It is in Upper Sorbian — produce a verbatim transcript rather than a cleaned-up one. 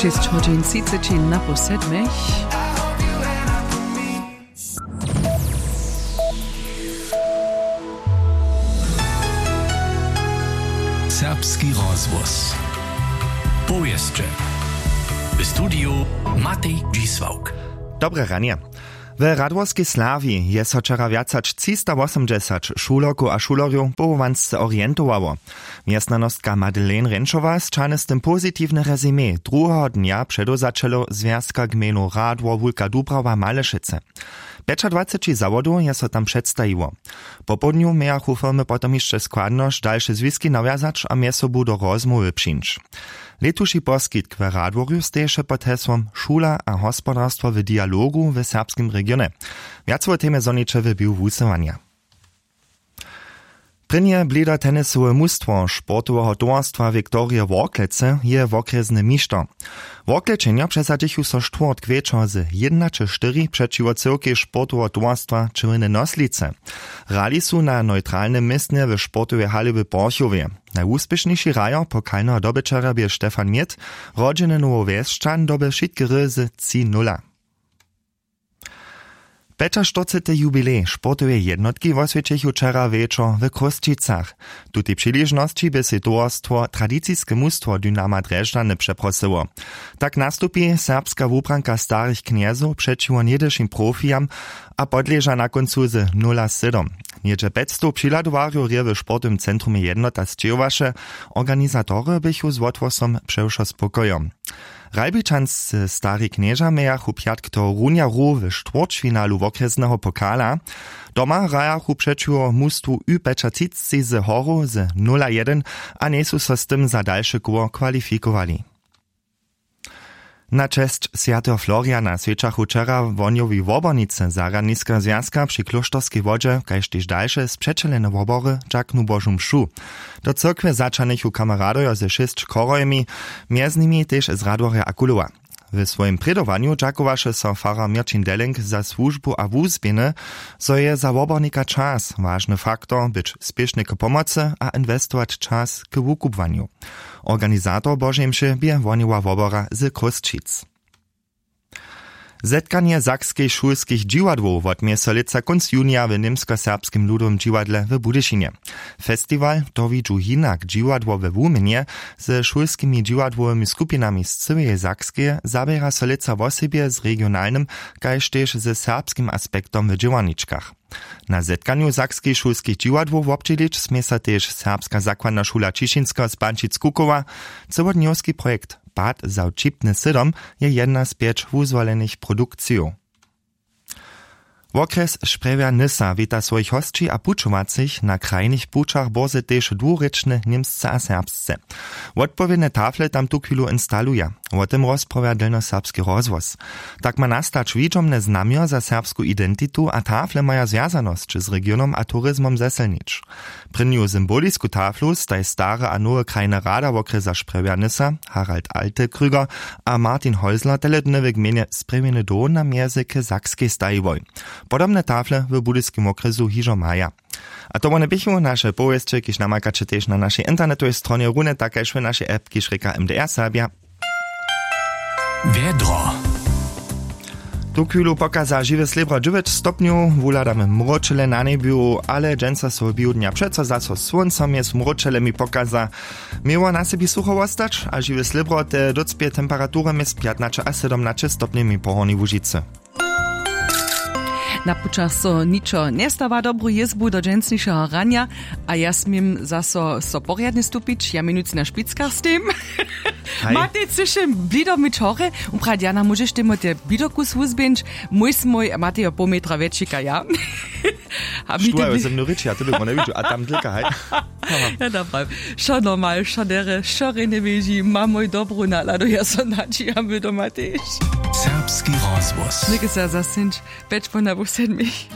Šěsć hodźin třiceći na pół sedmich. Serbski rozhłos. Powěsće. W studiju Matej Dźisławk. Dobre ranje. W Radworskej Slawi je so wčera wjac hač třistawosomdźesać šulerkow a šulerjow powołansce orientowało. Mjeznanostka Madeleine Renčowa sćahny z tym pozitiwne rezime druheho dnja předewzaćelow Zwjazka gmejnow Radwor Wulka Dubrawa Malešecy. Pjećadwaceći zawodow je so tam předstajiło. Popołdnju mějachu firmy potom hišće składnosć dalše zwiski nawjazać a mjez sobu do rozmołwy přińć. Lětuši poskitk w Radworju steješe pod hesłom Šula a hospodarstwo w dialogu w serbskim regionje. Wjac wo temje zhoniće w běhu wusyłanja. Prěnje blidotenisowe mustwo sportoweho towarstwa Viktorije Worklece je wokrjesny mišter. Worklečenjo přesadźichu so štwórtk wječor z jědnaće štyri přećiwo cyłkej sportoweho towarstwa Črwjene Noslice. Hrali su na neutralnym městnje w sportowej hali w Porchowje. Najwuspěšniši hrajo pokalneho dobyćerja bě Stefan Mět, rodźeny Nowowjesćan, doby wšitke hry z tři nula. Pjećaštyrcety jubilej sportoweje jednotki woswjećechu wčera wječor w Chrósćicach. Tutej přiležnosći bě sej towarstwo tradiciske mustwo Dynama Drježdźany přeprosyło. Tak nastupi serbska wubranka starych knjezow přećiwo něhdyšim profijam a podleža na kóncu z nula sedom. Něhdźe pjećstow přihladowarjow rje w sportowym centrumje Jednota sćěhowaše, organizatory běchu z wothłosom přewšo spokojo. Ralbičanscy stari knježa mějachu pjatk tohorunja hru w štwórćfinalu wokrjesneho pokala. Doma hrajachu přećiwo mustwu ü pjećatřicci z Horow z nula jedyn a njejsu so z tym za dalše koło kwalifikowali. Na česć swjateho Floriana swjećachu wčera wohnjowi wobornicy zarjadniskeho zwjazka při klóšterskej wodźe kaž tež dalše spřećelene wobory dźaknu Božu mšu. Do cyrkwje zaćahnychu kameradojo ze šěsć chorhojemi, mjez nimi tež z Radworja a Kulowa. W swojim prědowanju dźakowaše so farar Měrćin Delling za słužbu a wuzběhny, zo je za wobornika čas wažny faktor być spěšny k pomocy a inwestować čas k wukubłanju. Organizator Božej mše bě wohnjowa wobora z Chrósćic. Zetkanje sakskich šulskich dźiwadłow wotměje so lětsa kónc junija w Němskoserbskim ludowym dźiwadle w Budyšinje. Festiwal To widźu hinak dźiwadło we Wuměnje ze šulskimi dźiwadłowymi skupinami z cyłeje Sakskeje zaběra so lětsa wosebje z regionalnym kaž tež ze serbskim aspektom w dźěłarničkach. Na zetkanju sakskich šulskich dźiwadłow wobdźělić smě so tež Serbska zakładna šula Ćišinskeho z Pančic Kukowa, cyłodnjowski projekt Pad za wćipny sydom je jedna z pjeć wuzwolenych produkcijow. Wokrjes Sprjewja Nysa wita swojich hosći a pućowacych na krajnych pućach bórze tež dwurěčne němsce a serbsce. Wotpowědne tafle tam tuchwilu instaluja. Wo tym rozprawja delnjoserbski rozhłos. Tak ma nastać widźomne znamjo za serbsku identitu a tafle maja zwjazanosć z regionom a turizmom zesylnić. Prěnju symbolisku taflu staj stare a nowe krajne rada wokrjesa Sprjewja Nysa Harald Altekrüger a Martin Häusler tele dny w gmejnje Sprjewjeny doł na mjezy k Sakskej stajiłoj. Podobne tafle w budyskim wokrjesu hižo maja. A to wone běchu naše powěsće, kiž namakaće tež na našej internetowej stronje, runje tak kaž w našej app, kiž rěka M D R Serbja. Wjedro. Tu chwilu pokaza žiwe slěbro dźewjeć stopnjow, wuhladamy mróčele na njebju, ale dźensa so w běhu dnja přeco zaso słónco mjez mróčelemi pokaza. Měło na sebi sucho wostać a žiwe slěbro te docpě temperatury mjez pjatnaće a sydomnaće stopnjemi po Hornjej Łužicy. Na pućach so ničo njestawa, dobru jězbu do dźensnišeho ranja. A ja směm zaso so porjadnje stupić, ja měnujcy na špickach stejm. Haj. Matej, chcyš blido myć hory? Uprawdź, Jana, móžeš temu te blido kus wuzběhnyć? Mój smój, Matej jo poł metra wjetšika, ja. A mi Štuhajo te ze mnu rěči, a ty by wone widźu a tam dlika, haj. Ja, dobra. Wšo normal, wšo derje, wšo rjenje běži, mam mój dobru naladu, ja so nadźijam, wy doma tež. Serbski rozhłos. Něke se zasyńć, pjeć po na pół sedmich.